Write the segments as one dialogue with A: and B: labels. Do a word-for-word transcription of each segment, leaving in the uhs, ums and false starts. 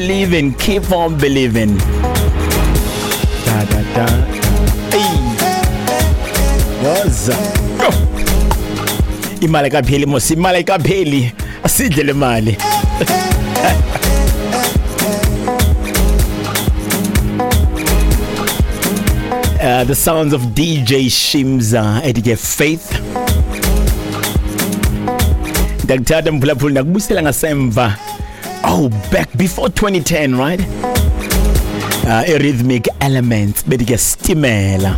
A: Believing, keep on believing. Da da da. Hey. Woza. Go. Imali kapheli mos, imali kapheli. Asidle le mali. Uh, the sounds of D J Shimza ethi Faith. Ndakuthatha mphulaphuli ndakubuyisela ngasemva. Oh, back before twenty ten, right? Uh, Rhythmic Elements bethi ke Stimela.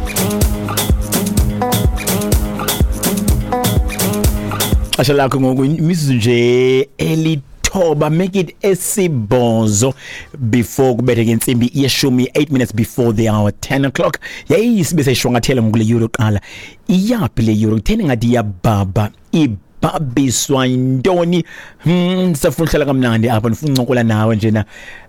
A: Xesha lakho ngoku imizuzu nje elithoba, make it esibhozo before kubetheke intsimbi yeshumi, eight minutes before the hour ten o'clock. Yayi sibe seyishwangathela ngokule euro qala. Iyaphi le euro? Kutheni ngathi iyabhabha? Ibhabhiswa yintoni? Hmm, sifuna uhlala kamnandi apha, ndifuna uncokola nawe njena.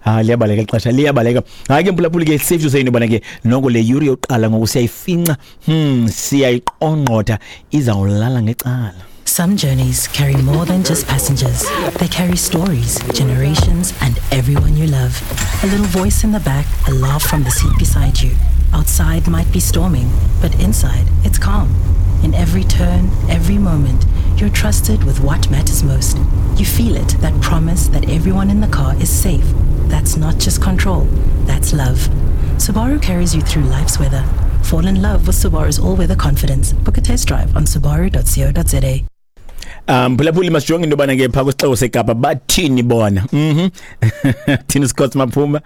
A: Ah, liyabaleka ixesha, liyabaleka. Hayi ke mphulaphuli ke safe to say intobana ke noko le euro yoqala ngoku siyayifinca. Hmm, siyayiqongqotha, izawulala ngecala.
B: Some journeys carry more than just passengers. They carry stories, generations, and everyone you love. A little voice in the back, a laugh from the seat beside you. Outside might be storming, but inside it's calm. In every turn, every moment, you're trusted with what matters most. You feel it, that promise that everyone in the car is safe. That's not just control, that's love. Subaru carries you through life's weather. Fall in love with Subaru's all-weather confidence. Book a test drive on subaru dot co dot za.
A: Um phulaphuli masijonge into yobana ke phaa kwisixeko seKapa bathini bona. Mhm. Thini Scott Maphuma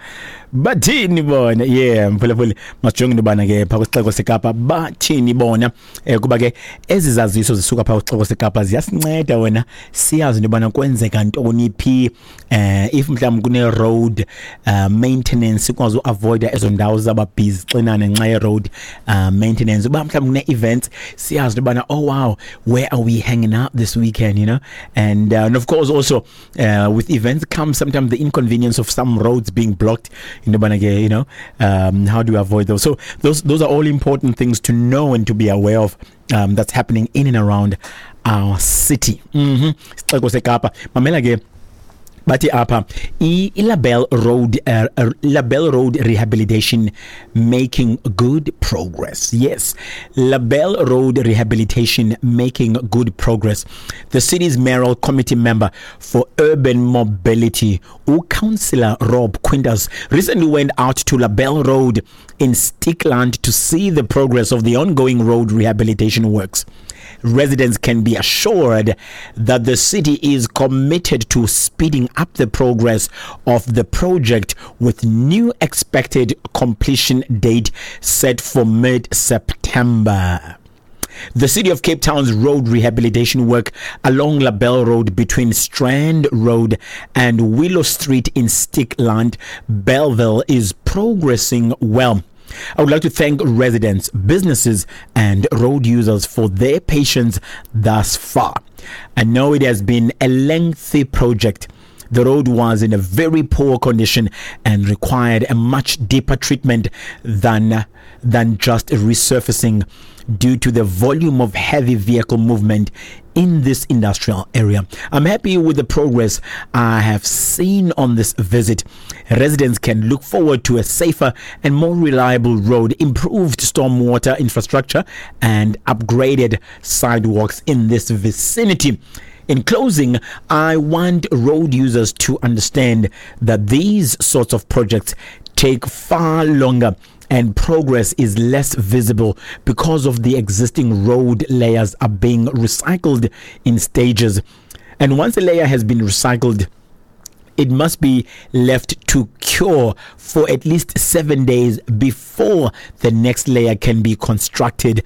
A: bathini bona. Yeah, mphulaphuli masijonge into yobana ke phaa kwisixeko seKapa bathini bona. Eh kuba ke ezi zaziso zisuka phaa kwisixeko seKapa ziyasinceda wena siyazi into yobana kwenzeka ntoni phi. Eh if mhlawumbi kune road uh, maintenance sikwazi uavoida ezo ndawo zaba busy xinane ngenxa ye road uh, maintenance. Uba mhlawumbi kune events siyazi into yobana oh wow, where are we hanging out this weekend, you know? And, uh, and of course also uh, with events comes sometimes the inconvenience of some roads being blocked in the Banage, you know, um, how do we avoid those? So those those are all important things to know and to be aware of, um, that's happening in and around our city. Mm-hmm. Sixeko seKapa. Mamela ke bathi apha i-Label Road uh, uh, Label Road rehabilitation making good progress. Yes, Label Road rehabilitation making good progress. The city's mayoral committee member for urban mobility, Councillor Rob Quintas, recently went out to Label Road in Stickland to see the progress of the ongoing road rehabilitation works. Residents can be assured that the city is committed to speeding up the progress of the project, with new expected completion date set for mid-September. The City of Cape Town's road rehabilitation work along Label Road between Strand Road and Willow Street in Stickland, Belleville is progressing well. I would like to thank residents, businesses, and road users for their patience thus far. I know it has been a lengthy project. The road was in a very poor condition and required a much deeper treatment than, than just resurfacing due to the volume of heavy vehicle movement in this industrial area. I'm happy with the progress I have seen on this visit. Residents can look forward to a safer and more reliable road, improved stormwater infrastructure, and upgraded sidewalks in this vicinity. In closing, I want road users to understand that these sorts of projects take far longer and progress is less visible because of the existing road layers are being recycled in stages. And once a layer has been recycled, it must be left to cure for at least seven days before the next layer can be constructed.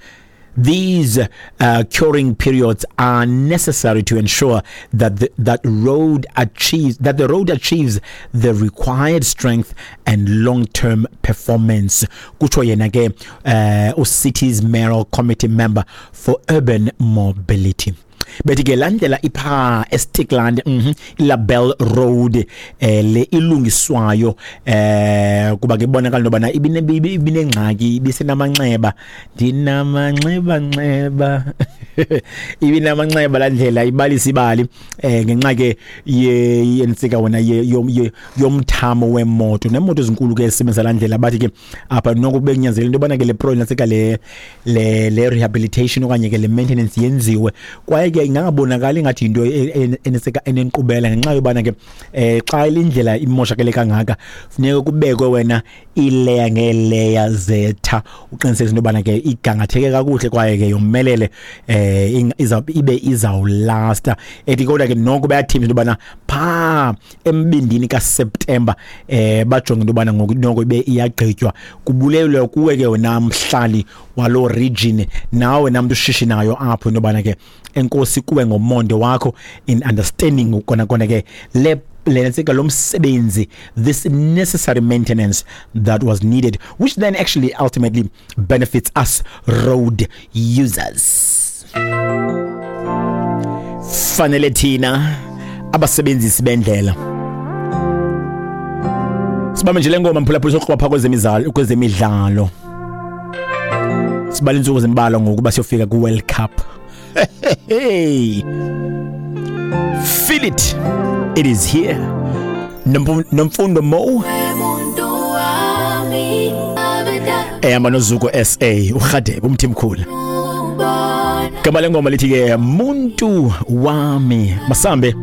A: These uh, curing periods are necessary to ensure that the, that road achieves that the road achieves the required strength and long-term performance. Kutsho yena ke uh, city's mayoral committee member for urban mobility. Bethi ke laa ndlela iphaa eStikland, mhm iLabel Road, eh le ilungiswayo, eh kuba ke ibonakala into yobana ibinengxaki, ibisenamanxeba, ndinamanxeba nxeba ibinamanxeba laa ndlela, ibalisa ibali eh ngenxa ke yentsika wona yomthamo wemoto neemoto ezinkulu ke esebenzisa laa ndlela. Bathi ke apha noko bekunyanzelekile into yobana ke le pro nantsika le le le rehabilitation okanye ke le maintenance yenziwe, kwaye ke ingangabonakali ingathi yinto enesika enenkqubela ngenxa yobana ke eh xa indlela imoshakele kangaka funeka kubekwe wena iileya ngeeleya zetha uqinisekise into yobana ke igangatheke kakuhle kwaye ke yomelele, eh ibe izawulasta. Ethi kodwa ke noko bayathembisa into yobana phaa embindini kaSeptemba eh bajonge into yobana ngoku noko ibe iyagqitywa. Kubulelwe kuwe ke wena mhlali waloo region, nawe namntu ushishinayo apho, into yobana ke enkosi kuwe ngomonde wakho in understanding kona kona ke le lentsika lo msebenzi, this necessary maintenance that was needed, which then actually ultimately benefits us road users. Fanele thina abasebenzisi bendlela sibambe nje le ngoma, mphulaphula, soqhuba phaa kwezemidlalo kwezemidlalo Sibala iintsuku zimbalwa ngokuba siyofika ku-World Cup. Hey, feel it, it is here. Nomfundo Mo ehamba noZuko S A, uRhadebe umthimkhulu. Gama lengoma lithi ke Muntu Wami. Masambe.